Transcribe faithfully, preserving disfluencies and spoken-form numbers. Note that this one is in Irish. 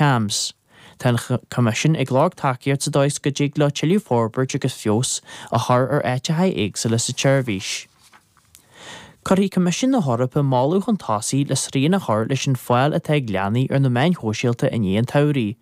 CAMHS. Tá an Coimisiún ag lorg tacaíocht sa dóigh go dtig leo tuilleadh forbairt agus feabhas a chur ar áiteacha éagsúla sa tseirbhís. Cuirfidh Coimisiún na hEorpa moladh chun tosaigh le srian a chur leis an fáil atá ag leanaí ar na meáin shóisialta i ndiaidh an tsamhraidh,